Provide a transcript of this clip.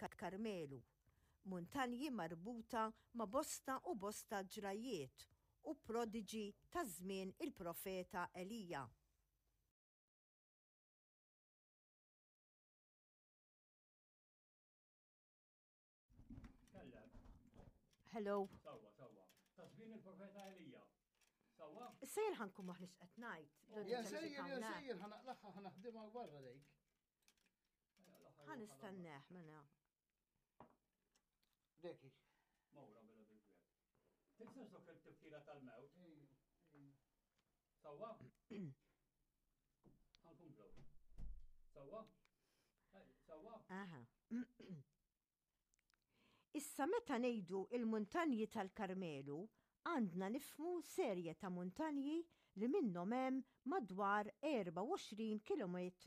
tal-Karmelu, muntanji marbuta ma' bosta u bosta ġrajjiet u prodiġi ta' żmien il-profeta Elija. Hello. Sawa, sawa. Ta' żmien il-profeta Elija. Sawa? Sejjer ħankun maħniex qed ngħid. Ja sejjer, ja sejjer, ħanaqlaħħa ħanaħdimha barra dejk. Ħa nistenneħ mela. Deki. Mawra mela bil-kwiet. Tinsax dok il-tifkira tal-mewt. Sawa? Ħankomplu. Sawa? Sawa? Aha. Issa meta ngħidu il-muntanji tal-Karmelu, għandna nifhmu serje ta' muntanji li minnhom hemm madwar 24 kilometru.